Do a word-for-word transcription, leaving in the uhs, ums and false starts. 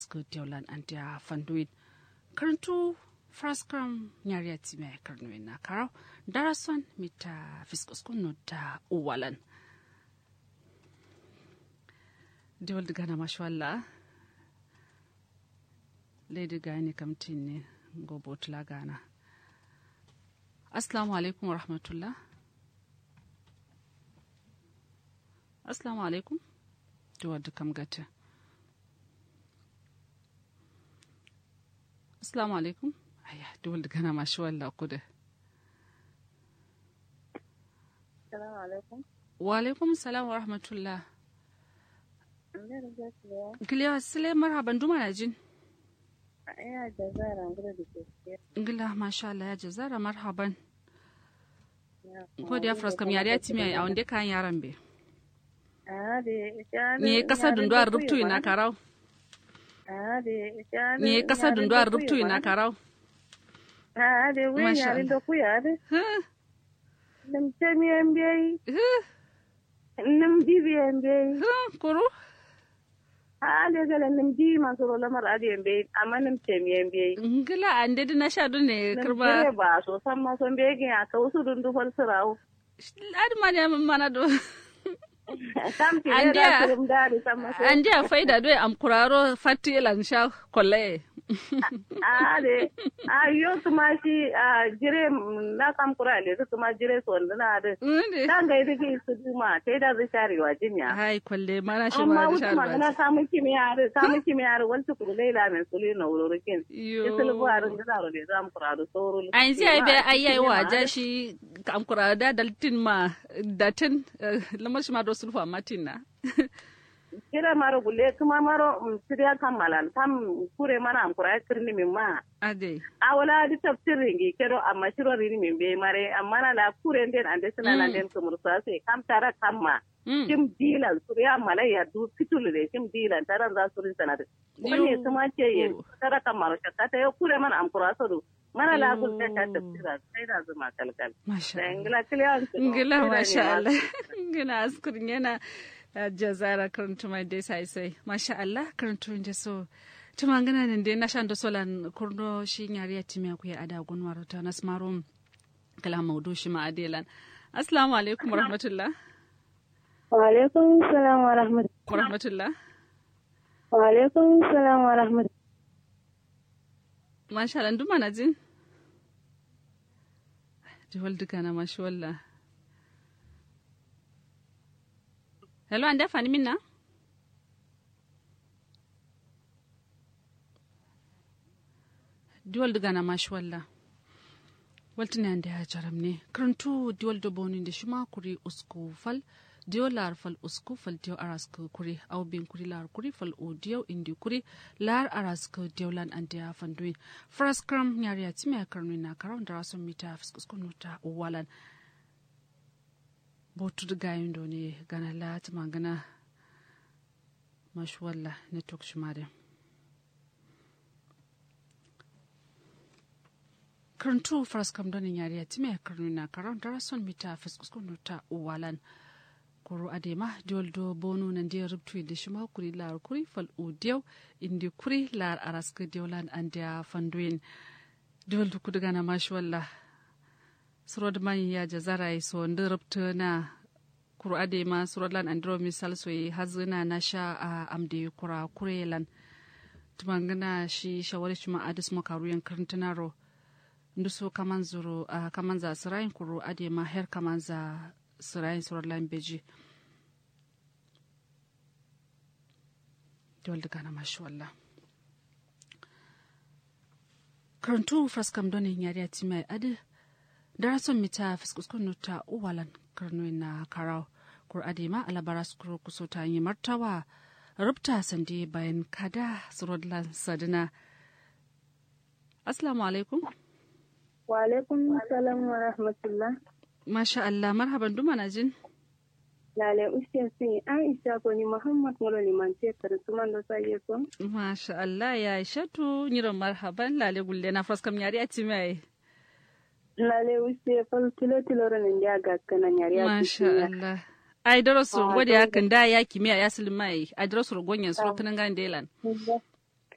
araskǝ diolan andiya fanduwin. Kǝrǝntu faraskam nyariya timiya ye kǝrǝnuwin na karau darason mita fiskuskun nutta uwalan. Diwal dǝgana mashuwalla. Laidu gani kamtin ne ngo botula gana. Assalamu alaikum warahmatullah. Assalamu alaikum. Duwar da kam gata. Assalamu alaikum. Aya, duwar da gana mashi walla kuda. Assalamu alaikum. Wa alaikum salam wa rahmatullah. Kiliya sile marhaban duma na jin. Ngila masha Allah ya jazara marhaban. Ko da ya fras kam yare ya timi a wande kan yaran be. Ni kasa dundu a rubtu ina karau. Ni kasa dundu a rubtu ina karau. Masha Allah. Nǝm temiyen beyi. Nǝm dibiyen beyi. Kuru. A'a nde gala nǝm diyi ma suro lamar adǝ yen beyi amma nǝm temiyen beyi. Ngla ande dǝ nasha done kǝrba. Jire ba so samma so mbeyi gǝnya kawusu dǝ ndu fal sǝrawu. Adǝ ma dǝ ya mana do. Andiya faida doi amkuraro fatti lan sha kollaye. A'a de. A'a yo kǝma shi. Jire na kam kura le kǝma jire sonduna adǝ. Tangai dǝ gi suduma tai da zǝ shari wa jimiya. Hai kolle mana shi ma zǝ shari wa jimiya. Samu kimiya adǝ samu kimiya adǝ waltu kuru lai la men sulu na wuro rukin. Yo isulu bu adǝ ngǝza ro le zam kura adǝ soro. Anzi ai be ai ai wa ja shi. Kam kura da daltin ma datin. Lamar shi ma do sulfa matin na. Kira maro gulle kǝma maro. Siriya kammalan kam kure mana amkura kǝrni min ma. Adai. Awala dǝ tafsir ringi kedo amma shiro rini min be mare amma na la kure nden ande sǝna na nden kǝmur sase kam tara kamma. Shim dilan suriya malai ya du fitulu de shim dilan taran za surin sanadǝ. Kǝrni kǝma ce ye tara kammaro shakkata yo kure mana amkura sodu. Mana la gul ta sha tafsira sai da zuma kalkal. Masha Allah. Ngila masha Allah. Ngila askur yana. Jazara kǝrǝntuma dai sai sai masha Allah kǝrǝntu nde so. Tuma ngana nde nasha ndo solan kurno shi nyariya timiya kuye ada gunwaro ta nasmaro. Kala maudu shi ma adelan. Assalamu alaikum warahmatullah. Wa alaikum salam warahmatullah. Warahmatullah. Wa alaikum salam warahmatullah. Masha Allah nduma na jin. Jawal dukana mashi walla. Hello ande afani minna. Diwal dǝ gana mashi walla. Waltǝne ande a jaramne kǝrǝntu diwal do bonu inde shima kuri usku fal. Diyo laar fal usku fal diyo araskǝ kuri au bin kuri laar kuri fal u diyo indi kuri. Laar araskǝ diyo lan ande a fanduwin. Faraskǝram nyariya timiya karnuwin na karaw ndara son mita fǝskǝskǝ nuta uwalan. Botu dǝ gayin done gana la tǝmangǝna. Mashi walla network shima dǝ. Kǝrǝntu faraskam done nyariya timiya kǝrǝnu na karaw ndara son mita fǝskǝskǝ nuta uwalan. Kuru adema diwal do bonu nandiya rubtu inde shima kuri laar kuri fal u diyo. Indi kuri laar araskǝ diyo lan andiya fanduwin. Diwal dukku dǝgana mashi walla. Suro dǝ man ya jazara ye so ndǝ rubtǝna. Kuru adai ma suro lan andiro misal soyi hazǝna nasha a amde kura kure lan. Tǝmangǝna shi shawari shima adǝ sǝmo karuyen kǝrǝntǝnaro. Nduso kamanzuro a kamanza sǝrayin kuru adai ma her kamanza sǝrayin suro lan beji. Diwal dǝgana mashi walla. Kǝrǝntu faraskam done nyariya timiya ye adǝ. Darason mita fǝskǝskǝ nuta uwalan kǝrǝnuwin na karaw. Kuru adai ma alabara sukuro kuso ta nyi martawa. Rubta sandi bayan kada suro lan sadǝna. Assalamu alaikum. Wa alaikum salam wa rahmatullah. Masha Allah marhaban duma na jin. Lale usse si aisha koni muhammad ngolo liman ce kǝrǝ sumando saye so. Masha Allah ya aishatu nyiro marhaban lale gulle na faraskam nyari a timiya ye. Lale usse fal tilo tilo ro nandi a gakkǝna nyari a timiya. Masha Allah. Ai daro suro ngode ya kǝnda ya kimiya ya sǝlǝma ye ai daro suro gonyen suro kǝnǝnga ndelan.